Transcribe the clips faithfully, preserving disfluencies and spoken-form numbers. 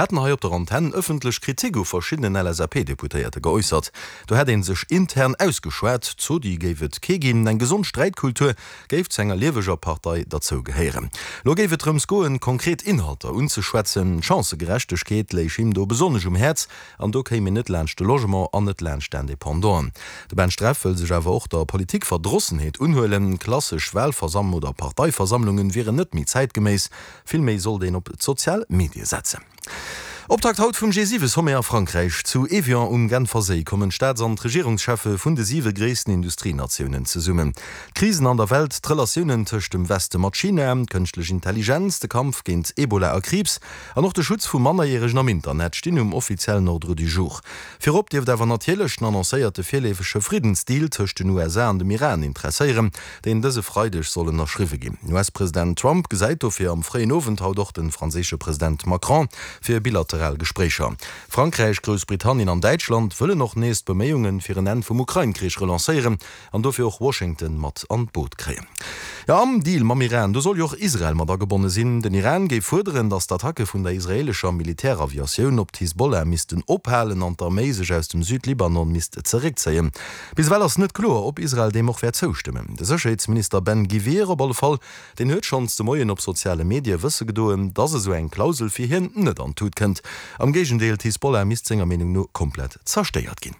hätten hei op der Antenn ëffentlech Kritik u verschiddenen L S A P-Deputéierte geäussert. Do hätt ee sech intern ausgeschwat, Zodi géif et kee ginn, eng gesond Sträitkultur géif zu enger lieweger Partei derzou gehéieren. Lo géif et drëms goen, konkret Inhalter unzeschwätzen, Chancëgerechtegkeet léich him do besonnesch um Häerz an do kéim een net laanscht de Logement an net laanscht d'Independanten. De Ben Streff wëll sech awer och der Politikverdrossenheet unhuelen, klassesch Walversamm oder Parteiversammlungen wieren net méi zäitgeméiss, villméi sollt een op d'sozial Medie setzen. Optakt haut vum G siwe Sommet a Frankräich. Zu Évian um Genferséi kommen d'Staats an d'Regierungscheffe vun de siwe gréissten Industrienatiounen zesummen. D'Krisen an der Welt, d'Relatiounen tëscht dem Weste mat China, kënschtlech Intelligenz, de Kampf géint Ebola a Kriibs an och de Schutz vu Mannerjäregen am Internet stinn um offiziellen Ordre du jour. Virop dierft awer natierlech den annoncéierte virleefege Friddensdeal tëscht den U S A an dem Iran interesséieren, deen dëse Freideg soll ënnerschriwwe ginn. U S-President Trump gesäit dofir am fréien Owend haut och de franséische President Macron fir bilateral Gespréicher. Frankräich, Groussbritannien an Däitschland wëllen och nees d'Beméiunge fir en Enn vum Ukrain-Krich relancéieren an dofir och Washington mat an d'Boot kréien. Jo, am Deal mam Iran, do soll jo och Israel mat agebonne sinn. Den Iran géif fuerderen, datt d'Attacke vun der israeelescher Militäraviatioun op d'Hisbollah missten ophalen an d'Arméi sech aus dem Südlibanon misst zeréckzéien. Bis ewell ass net kloer, ob Israel deem och wäert zoustëmmen. De Sécherheetsminister Ben Gvir op alle Fall, deen huet schonns de Moien op soziale Medie wësse gedoen, datt esou eng Klausel fir hien net an d'Tut kënnt. Am Géigendeel, d'Hisbollah misst senger Meenung no komplett zerstéiert ginn.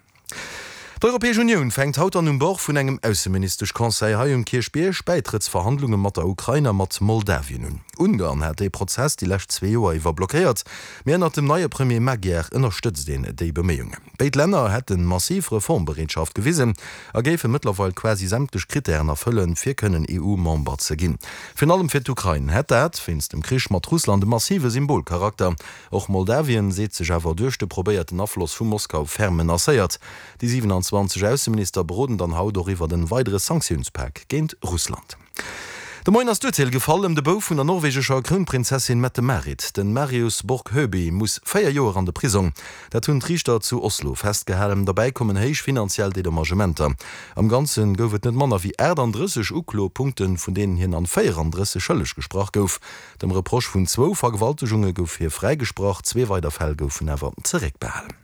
D'Europäesch Unioun fänkt haut an um Bord vun engem Ausseministesch-Conseil hei um Kierchbierg Bäitrëttsverhandlunge mat der Ukrain a mat Moldawien un. Ungarn hat dee Prozess déi lescht zwee Joer iwwer blockéiert, mee ënnert dem neie Premier Magyar ënnerstëtzt een déi Beméiungen. Béid Länner hätte massiv Reformbereetschaft gewisen a géife mëttlerweil quasi sämtlech Krittären erfëllen, fir kënnen E U-Member ze ginn. Virun allem fir d'Ukrain hätt dat wéinst dem Krich mat Russland e massive Symbolcharakter. Och Moldawien seet sech awer duerch de probéierten Afloss vu Moskau ferm menacéiert. Déi siewenanzwanzeg Ausseminister beroden dann haut och iwwer en weidere Sanktiounspak géint Russland. De Moien ass d'Urteel gefall ëm de Bouf vun der norwegescher Krounprinzessin Mette-Marit. Den Marius Borg Høiby muss véier Joer an de Prisong. Dat hunn d'Riichter zu Oslo festgehalen. Dobäi kommen héich finanziell Dedommagementer. Am Ganze gouf et net manner wéi achtandrësseg Uklopunkten, vun deenen hien an véierandrësseg schëlleg gesprach gouf. Dem Reproche vun zwou Vergewaltegunge gouf hie fräigesprach, zwee weider Fäll goufen awer zeréckbehalen.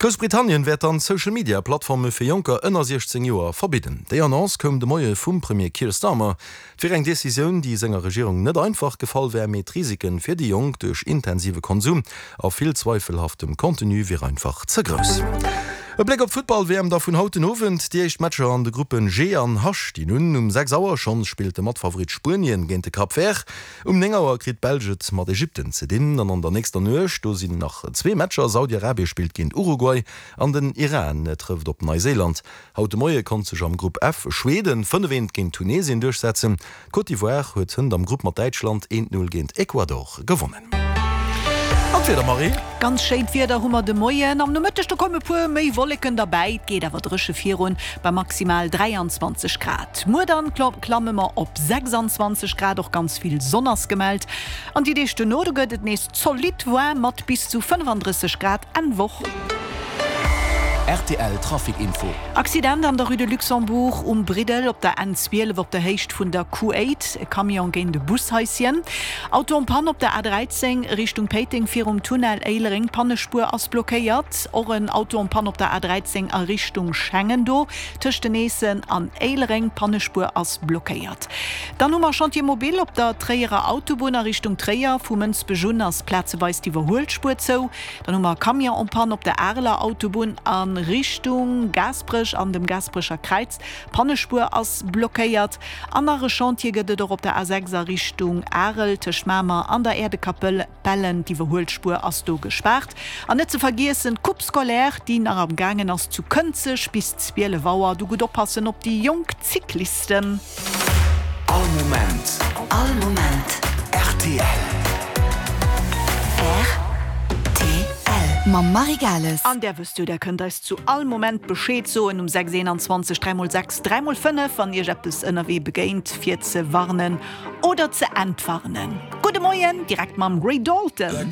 Groussbritannien wäert dann Social-Media-Plattforme fir Jonker ënner siechzéng Joer verbidden. Déi Annonce koum de Moie vum Premier Keir Starmer. Et wier eng Decisioun, déi senger Regierung net einfach gefall wär, mee d'Risike fir déi Jonk duerch intensive Konsum a vill zweifelhaftem Contenu wier einfach ze grouss. E Bléck op d'Futtball-W M da vun haut den Owend, déi éischt Matcher an de Gruppen G an H stinn un. Um sechs Auer schonns spillt de Matfavorit Spuenien géint de Cap Vert. Um néng Auer kritt d'Belsch et mat Ägypten ze dinn. An an der nächster Nuecht, do sinn nach zwee Matcher, Saudi-Arabie spillt géint Uruguay an den Iran trëfft op Neuseeland. Haut de Moie konnt sech am Grupp F Schweden fënnef eent géint Tunesien duerchsetzen. D'Côte d'Ivoire huet hënt am Grupp mat Däitschland eent Null géint Ecuador gewonnen. An d'Wieder, Marie? Ganz schéint Wieder hu mer de Moien. Am Nomëtteg do komme puer méi Wolleken derbäi, et geet awer dréche virun bei maximal dräianzwanzeg Grad. Muer dann klamme mer op sechsanzwanzeg Grad, och ganz vill Sonn ass gemellt. An déi Deeg duerno do gëtt et nees zolidd waarm mat bis zu fënnefandrësseg Grad Enn Woch. R T L Trafic Info. Accident an der Rue de Luxembourg um Briddel op der N zwielef op der Héicht vun der Q aacht, e Camion géint e Bushaischen. Auto en panne op der A dräizéng Richtung Péiteng virum Tunnel Éilereng, d'Pannespuer ass blockéiert. Och en Auto en panne op der A dräizéng a Richtung Schengen do tëscht den Eessen an Éilereng, d'Pannespuer ass blockéiert. Dann hu mer Chantier mobile op der Tréierer Autobunn a Richtung Tréier, vu Mënsbech un ass plazeweis d'Iwwerhuelspuer zou. Dann hu mer e Camion en panne op der Areler Autobunn a Richtung Gaasperech an dem Gaasperecher Kräiz, d'Pannespuer ass blockéiert. An nach e Chantier gëtt et och op der A sechs a Richtung Arel tëscht Mamer an der Äerdekapell, d'Iwwerhuelspuer ass do gespaart. An net ze vergiessen d'Coupe scolaire, déi nach am gaangen ass zu Kënzeg bis zwielef Auer. Do gutt oppassen op déi jonk Cyclisten. All Moment. All Moment. R T L. R T L. Mam Marie Gales. An där wësst jo, där kënnt eis zu all Moment Bescheed soen um sechs eenanzwanzeg dräi mol sechs dräi mol fënnef, wann iech eppes ënnerwee begéint, fir ze warnen oder ze entwarnen. Gudde Moien, direkt mam Ray Dalton.